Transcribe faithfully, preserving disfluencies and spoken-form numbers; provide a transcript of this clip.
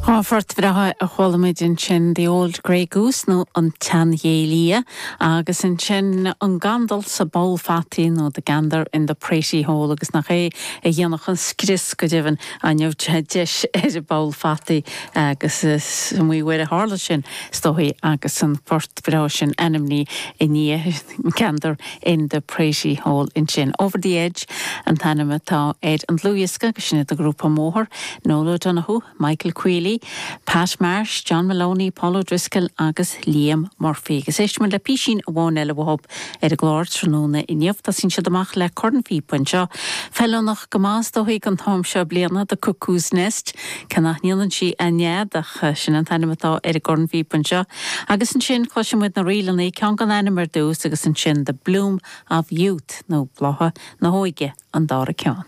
Dhá phort bhreátha a chuala muid ansin The Old Grey Goose nó an tSeanghé Liath agus ansin an Gandal sa bPoll Fataí nó The Gander in the Praty Hole agus nach é a dhéanfadh an scrios go deimhin an deis ar an bpoll fataí agus is iomaí uair a tharla sin is dóigh agus an port breá sin ainmnithe i ndiaidh Gander in the Praty Hole ansin. Over the Edge an t-ainm atá ar an dlúthdhiosca agus sin iad an grúpa Móthar, Noel O'Donoghue, Michael Quealy, Pat Marsh, John Maloney, Paul O'Driscoll agus Liam Murphy. Agus éistfimid le písín amháin eile uathu ar an gclár tráthnóna inniu Tosaíonn siad amach le cornphíopa anseo. Feiliúnach go maith dóigh an t-am seo bliana The Cuckoo's Nest, cé nach ndéanann sí a nead ach sin an t-ainm atá ar an gcornphíopa anseo. Agus ansin cloisfimid na ríleanna ceann gan ainm ar dtús agus ansin the Bloom of Youth nó blátha na hóige an dara ceann.